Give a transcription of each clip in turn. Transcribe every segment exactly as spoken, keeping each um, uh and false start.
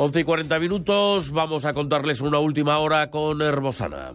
once y cuarenta minutos, vamos a contarles una última hora con Herbosana.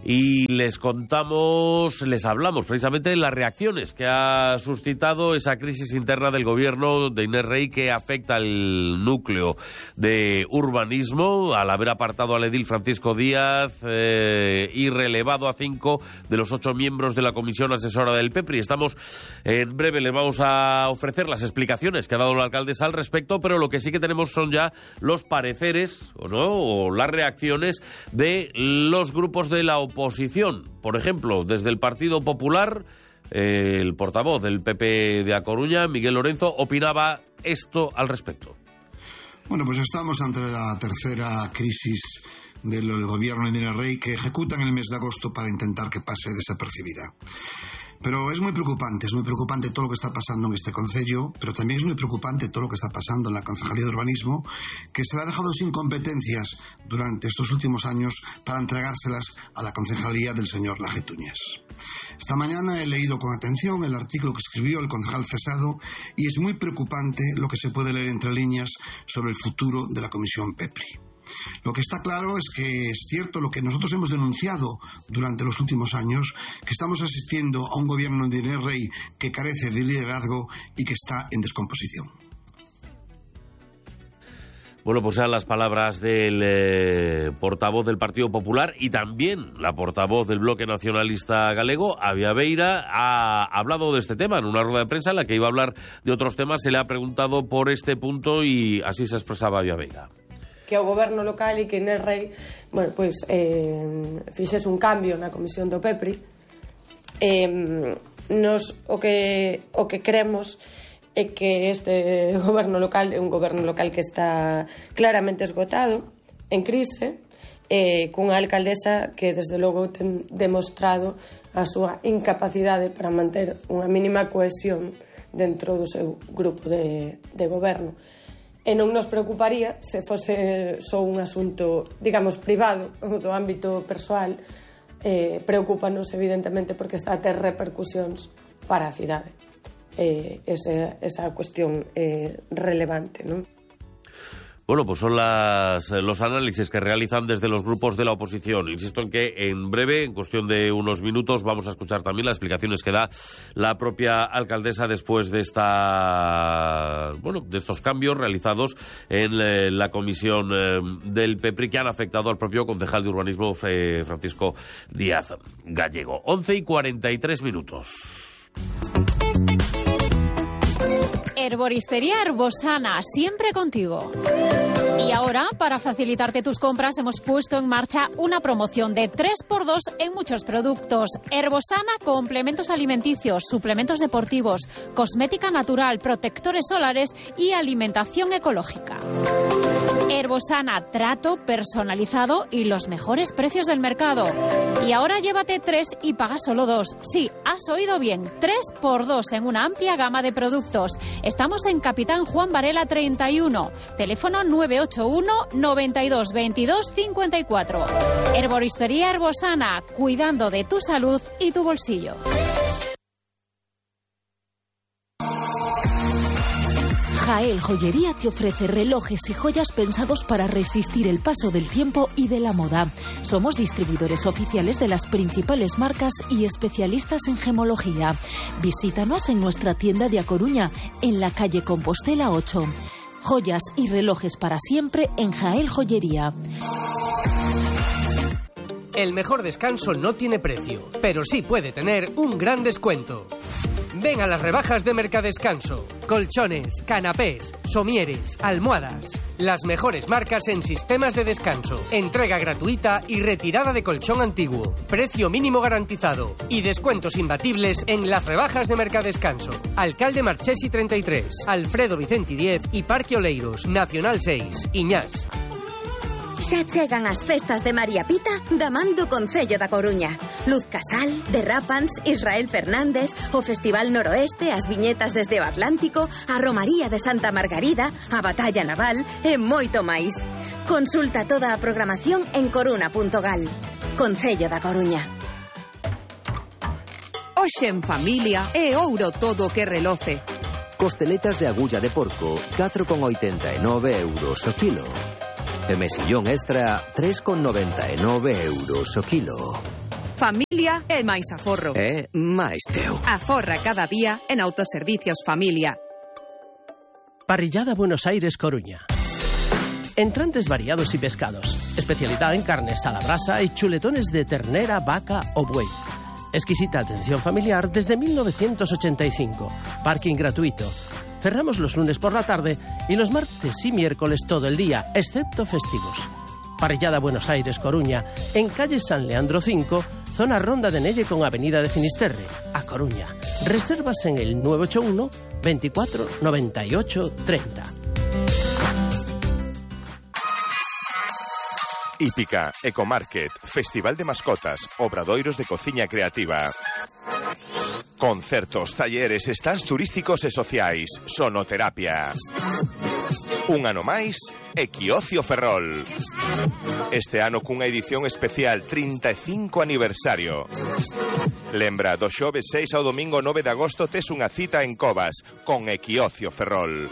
Y les contamos, les hablamos precisamente de las reacciones que ha suscitado esa crisis interna del gobierno de Inés Rey que afecta al núcleo de urbanismo al haber apartado al edil Francisco Díaz eh, y relevado a cinco de los ocho miembros de la comisión asesora del P E P R I. Estamos, en breve les vamos a ofrecer las explicaciones que ha dado la alcaldesa al respecto, pero lo que sí que tenemos son ya los pareceres o no o las reacciones de los grupos de la oposición. Oposición, por ejemplo, desde el Partido Popular, eh, el portavoz del P P de A Coruña, Miguel Lorenzo, opinaba esto al respecto. Bueno, pues estamos ante la tercera crisis del gobierno de Inés Rey que ejecutan en el mes de agosto para intentar que pase desapercibida. Pero es muy preocupante, es muy preocupante todo lo que está pasando en este concello, pero también es muy preocupante todo lo que está pasando en la Concejalía de Urbanismo, que se le ha dejado sin competencias durante estos últimos años para entregárselas a la Concejalía del señor Laje Túñez. Esta mañana he leído con atención el artículo que escribió el concejal cesado y es muy preocupante lo que se puede leer entre líneas sobre el futuro de la Comisión P E P R I. Lo que está claro es que es cierto lo que nosotros hemos denunciado durante los últimos años, que estamos asistiendo a un gobierno de Inés Rey que carece de liderazgo y que está en descomposición. Bueno, pues eran las palabras del eh, portavoz del Partido Popular y también la portavoz del Bloque Nacionalista Galego, Avia Beira, ha hablado de este tema en una rueda de prensa en la que iba a hablar de otros temas. Se le ha preguntado por este punto y así se expresaba Avia Beira. Que o goberno local e que Inés Rey, bueno, pois eh, fixese un cambio na comisión do P E P R I. Eh, nos o que o que cremos é que este goberno local é un goberno local que está claramente esgotado, en crise, eh, cunha alcaldesa que desde logo ten demostrado a súa incapacidade para manter unha mínima cohesión dentro do seu grupo de, de goberno. E non nos preocuparía se fose só un asunto, digamos, privado, do ámbito persoal. Eh, preocúpanos, evidentemente, porque está a ter repercusións para a cidade. Eh, esa, esa cuestión eh, relevante, non? Bueno, pues son las, los análisis que realizan desde los grupos de la oposición. Insisto en que en breve, en cuestión de unos minutos, vamos a escuchar también las explicaciones que da la propia alcaldesa después de esta, bueno, de estos cambios realizados en eh, la comisión eh, del P E P R I que han afectado al propio concejal de urbanismo eh, Francisco Díaz Gallego. once y cuarenta y tres minutos. Herboristería Herbosana, siempre contigo. Y ahora, para facilitarte tus compras, hemos puesto en marcha una promoción de tres por dos en muchos productos. Herbosana, complementos alimenticios, suplementos deportivos, cosmética natural, protectores solares y alimentación ecológica. Herbosana, trato personalizado y los mejores precios del mercado. Y ahora llévate tres y paga solo dos. Sí, has oído bien, tres por dos en una amplia gama de productos. Estamos en Capitán Juan Varela treinta y uno, teléfono nueve ocho uno, noventa y dos, veintidós, cincuenta y cuatro. Herboristería Herbosana, cuidando de tu salud y tu bolsillo. Jael Joyería te ofrece relojes y joyas pensados para resistir el paso del tiempo y de la moda. Somos distribuidores oficiales de las principales marcas y especialistas en gemología. Visítanos en nuestra tienda de A Coruña, en la calle Compostela ocho. Joyas y relojes para siempre en Jael Joyería. El mejor descanso no tiene precio, pero sí puede tener un gran descuento. Ven a las rebajas de Mercadescanso. Colchones, canapés, somieres, almohadas. Las mejores marcas en sistemas de descanso. Entrega gratuita y retirada de colchón antiguo. Precio mínimo garantizado. Y descuentos imbatibles en las rebajas de Mercadescanso. Alcalde Marchesi treinta y tres, Alfredo Vicenti diez y Parque Oleiros, Nacional seis, Iñás. Xa chegan as festas de María Pita da man do Concello da Coruña. Luz Casal, Derrapans, Israel Fernández, o Festival Noroeste, as viñetas desde o Atlántico, a Romaría de Santa Margarida, a Batalla Naval e moito máis. Consulta toda a programación en coruna punto gal. Concello da Coruña. Hoxe en familia é ouro todo o que reloce. Costeletas de agulla de porco, catro con oitenta e nove euros o kilo. E mesillón extra, tres con noventa e nove euros o kilo. Familia e máis aforro. É máis teu. Aforra cada día en Autoservicios Familia. Parrillada Buenos Aires Coruña. Entrantes variados y pescados. Especialidad en carnes a la brasa y chuletones de ternera, vaca o buey. Exquisita atención familiar desde mil novecientos ochenta y cinco. Parking gratuito. Cerramos los lunes por la tarde y los martes y miércoles todo el día, excepto festivos. Parrillada Buenos Aires Coruña, en calle San Leandro cinco, zona Ronda de Nelle con avenida de Finisterre, a Coruña. Reservas en el nueve ocho uno, veinticuatro, noventa y ocho, treinta. Hípica, Ecomarket, Festival de Mascotas, Obradoiros de Cociña Creativa. Concertos, talleres, stands turísticos e sociais, sonoterapia. Un ano máis, Equiocio Ferrol. Este ano cunha edición especial trinta e cinco aniversario. Lembra, do xoves seis ao domingo nove de agosto tes unha cita en Covas con Equiocio Ferrol.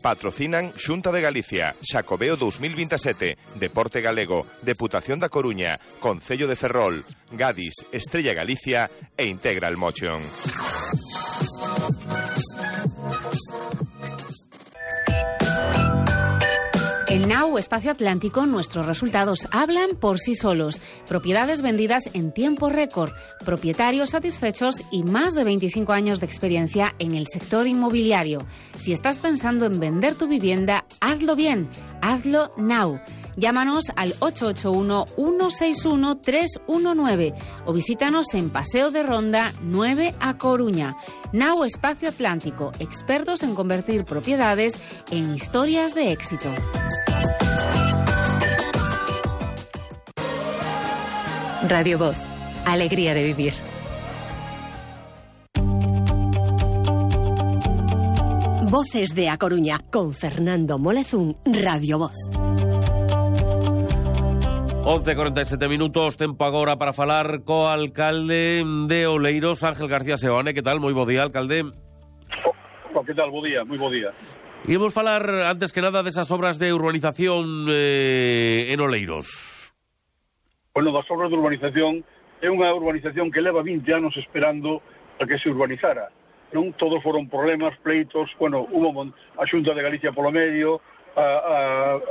Patrocinan Xunta de Galicia, Xacobeo dos mil veintisiete, Deporte Galego, Deputación da Coruña, Concello de Ferrol, Gadis, Estrella Galicia e Integral Motion. En Now Espacio Atlántico nuestros resultados hablan por sí solos. Propiedades vendidas en tiempo récord, propietarios satisfechos y más de veinticinco años de experiencia en el sector inmobiliario. Si estás pensando en vender tu vivienda, hazlo bien, hazlo Now. Llámanos al ocho ocho uno, uno seis uno, tres uno nueve o visítanos en Paseo de Ronda nueve a Coruña. Now Espacio Atlántico, expertos en convertir propiedades en historias de éxito. Radio Voz, alegría de vivir. Voces de A Coruña, con Fernando Molezún, Radio Voz. once e cuarenta y siete minutos, tempo agora para falar co alcalde de Oleiros, Ángel García Seoane. Que tal? Moi bo día, alcalde. Oh, que tal? Bo día, moi bo día. Imos falar, antes que nada, desas obras de urbanización eh, en Oleiros. Bueno, das obras de urbanización, é unha urbanización que leva vinte anos esperando a que se urbanizara. Non todos foron problemas, pleitos, bueno, hubo a Xunta de Galicia polo medio, a, a,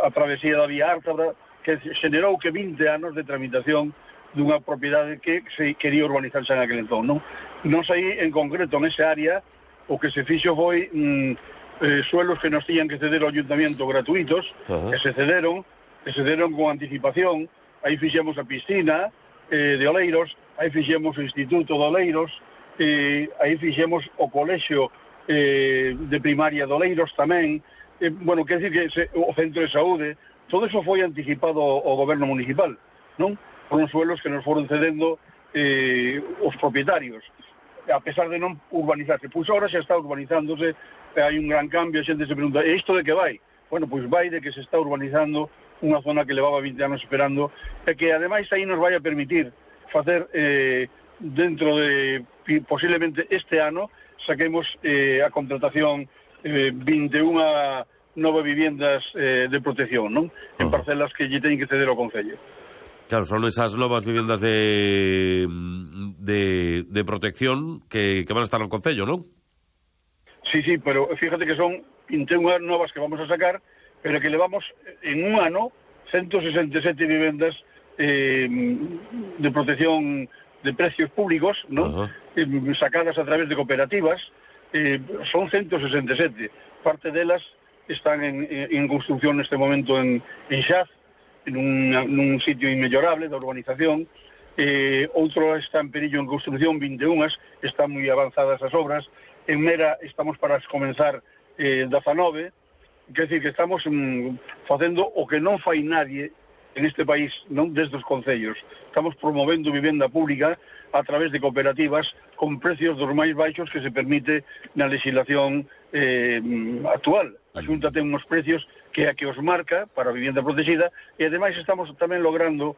a travesía da Vía Ártabra, que xenerou que vinte anos de tramitación dunha propiedade que se quería urbanizarse en aquel entón, non? Non sei, en concreto, nesa área, o que se fixo foi mm, eh, suelos que nos tiñan que ceder ao ayuntamiento gratuitos, uh-huh. que se cederon, que se cederon con anticipación. Aí fixemos a piscina eh, de Oleiros, aí fixemos o Instituto de Oleiros, eh, aí fixemos o colexio eh, de primaria de Oleiros tamén, eh, bueno, quer dizer que se, o centro de saúde. Todo eso foi anticipado ao goberno municipal, non? Foron suelos que nos foron cedendo eh, os propietarios, a pesar de non urbanizarse. Pois agora xa está urbanizándose, hai un gran cambio, a xente se pregunta, e isto de que vai? Bueno, pois vai de que se está urbanizando unha zona que levaba vinte anos esperando, e que ademais aí nos vai a permitir facer, eh, dentro de, posiblemente este ano, saquemos eh, a contratación eh, vinte e unha nove viviendas eh, de protección, non? En parcelas que lle teñen que ceder ao Concello. Claro, son esas novas viviendas de de, de protección que, que van a estar no Concello, non? Sí, sí, pero fíjate que son vinte e unha novas que vamos a sacar, pero que levamos en un ano ciento sesenta e sete viviendas eh, de protección de precios públicos, non? Uh-huh. Eh, sacadas a través de cooperativas, eh, son ciento sesenta e sete. Parte delas están en, en construcción neste momento en, en Xaz, en un, un sitio inmellorable da urbanización. Eh, outro está en perillo en construcción, vinte e unha, están moi avanzadas as obras. En Mera estamos para comenzar eh, dezanove, quer dizer que estamos mm, facendo o que non fai nadie en este país, non desde os concellos. Estamos promovendo vivenda pública a través de cooperativas con precios dos máis baixos que se permite na legislación eh, actual. A Xunta ten uns precios que a que os marca para a vivenda protegida, e ademais estamos tamén logrando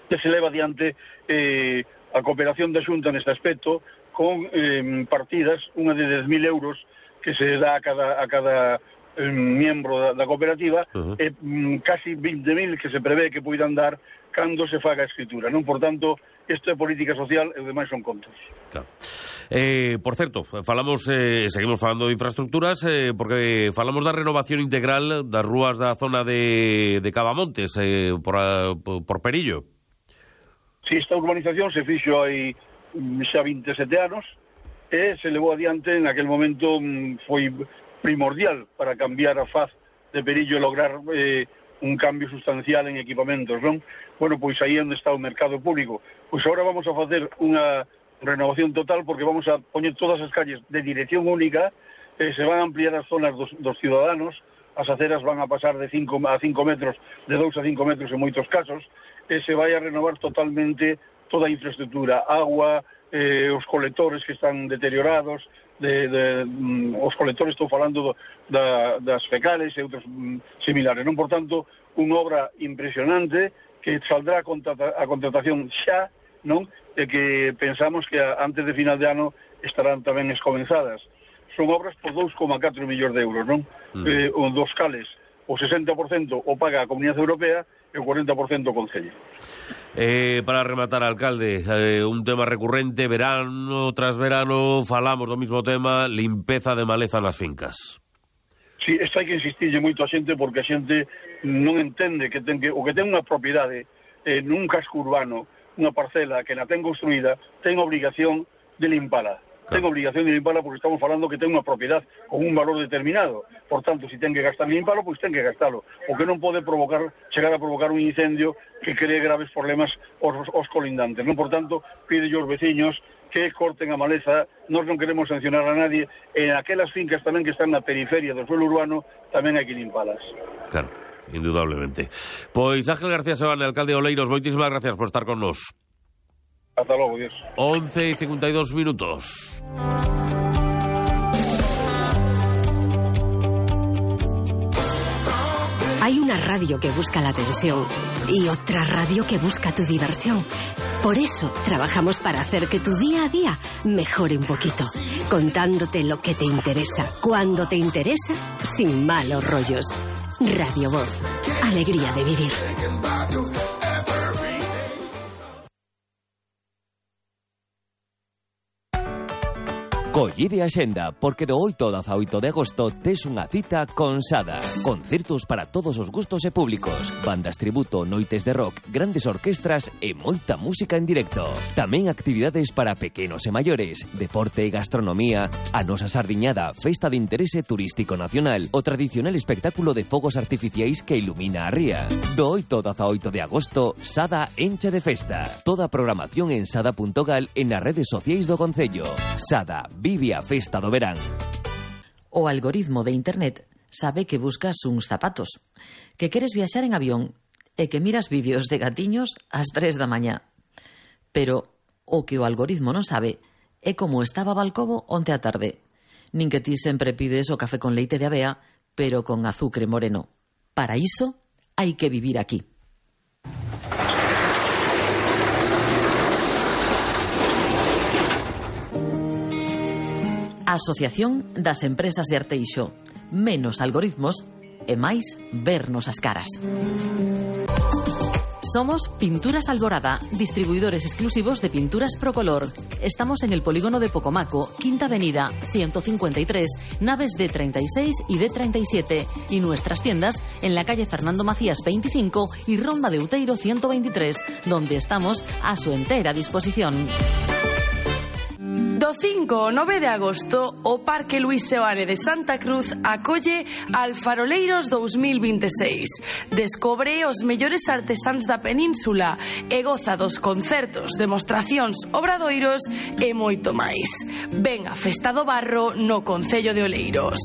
que se leva adiante eh, a cooperación da Xunta neste aspecto, con eh, partidas, unha de dez mil euros que se dá a cada, a cada eh, miembro da, da cooperativa, uh-huh. e mm, casi vinte mil que se prevé que poidan dar cando se faga a escritura, non? Por tanto, isto é política social e o demais son contos. Claro. Eh, por certo, falamos, eh, seguimos falando de infraestructuras, eh, porque falamos da renovación integral das rúas da zona de, de Cavamontes, eh, por, a, por Perillo. Si, esta urbanización se fixo hai xa veintesete anos e se levou adiante en aquel momento, foi primordial para cambiar a faz de Perillo e lograr eh, un cambio sustancial en equipamentos, non? Bueno, pois aí onde está o mercado público. Pois agora vamos a facer unha renovación total porque vamos a poñer todas as calles de dirección única, eh, se van a ampliar as zonas dos, dos ciudadanos, as aceras van a pasar de cinco a cinco metros, de dous a cinco metros en moitos casos, e se vai a renovar totalmente toda a infraestructura, agua, eh, os colectores que están deteriorados, de, de, mm, os colectores, estou falando do, da, das fecales e outros mm, similares, non? Por tanto, unha obra impresionante que saldrá a, contrata, a contratación xa, non? E que pensamos que a, antes de final de ano estarán tamén escomenzadas. Son obras por dous coma catro millóns de euros, non? Mm. Eh, dos cales, o sesenta por cento o paga a Comunidade Europea e o cuarenta por cento o Concello. Eh, para rematar, alcalde, eh, un tema recurrente, verano tras verano, falamos do mismo tema, limpeza de maleza nas fincas. Sí, isto hai que insistirlle moito a xente porque a xente non entende que ten que, o que ten unha propiedade eh, nun casco urbano, unha parcela que na ten construída, ten obrigación de limpala. Claro. Ten obligación de limpala porque estamos falando que ten unha propiedade con un valor determinado. Por tanto, se ten que gastar en limpalo, pois ten que gastalo. O que non pode provocar, chegar a provocar un incendio que cree graves problemas aos, aos colindantes. Non, por tanto, pide aos veciños que corten a maleza. Nós non queremos sancionar a nadie. En aquelas fincas tamén que están na periferia do suelo urbano, tamén hai que limpalas. Claro, indudablemente. Pois Ángel García Sebane, alcalde de Oleiros, moitísimas gracias por estar con nos. Hasta logo, Dios. once y cincuenta y dos minutos. Hay una radio que busca la atención y otra radio que busca tu diversión. Por eso trabajamos para hacer que tu día a día mejore un poquito, contándote lo que te interesa, cuando te interesa, sin malos rollos. Radio Voz, alegría de vivir. Collide a xenda, porque do oito ao dezaoito de agosto tes unha cita con Sada. Concertos para todos os gustos e públicos, bandas tributo, noites de rock, grandes orquestras e moita música en directo. Tamén actividades para pequenos e maiores, deporte e gastronomía, a nosa sardiñada, festa de interese turístico nacional, o tradicional espectáculo de fogos artificiais que ilumina a ría. Do oito ao dezaoito de agosto, Sada enche de festa. Toda a programación en sada punto gal e nas redes sociais do Concello. Sada, vive a festa do verán. O algoritmo de internet sabe que buscas uns zapatos, que queres viaxar en avión e que miras vídeos de gatiños ás tres da mañá. Pero o que o algoritmo non sabe é como estaba Balcobo onte á tarde. Nin que ti sempre pides o café con leite de avea, pero con azucre moreno. Para iso hai que vivir aquí. Asociación das Empresas de Arteixo. Menos algoritmos e máis vernos as caras. Somos Pinturas Alborada, distribuidores exclusivos de pinturas Procolor. Estamos en el polígono de Pocomaco, Quinta Avenida, ciento cincuenta y tres, naves D treinta y seis y D treinta y siete, y nuestras tiendas en la calle Fernando Macías veinticinco y Ronda de Outeiro ciento veintitrés, donde estamos a su entera disposición. Do cinco ao nove de agosto, o Parque Luís Seoane de Santa Cruz acolle Alfaroleiros dous mil vinte e seis. Descobre os mellores artesáns da península e goza dos concertos, demostracións, obradoiros e moito máis. Ven a Festa do Barro no Concello de Oleiros.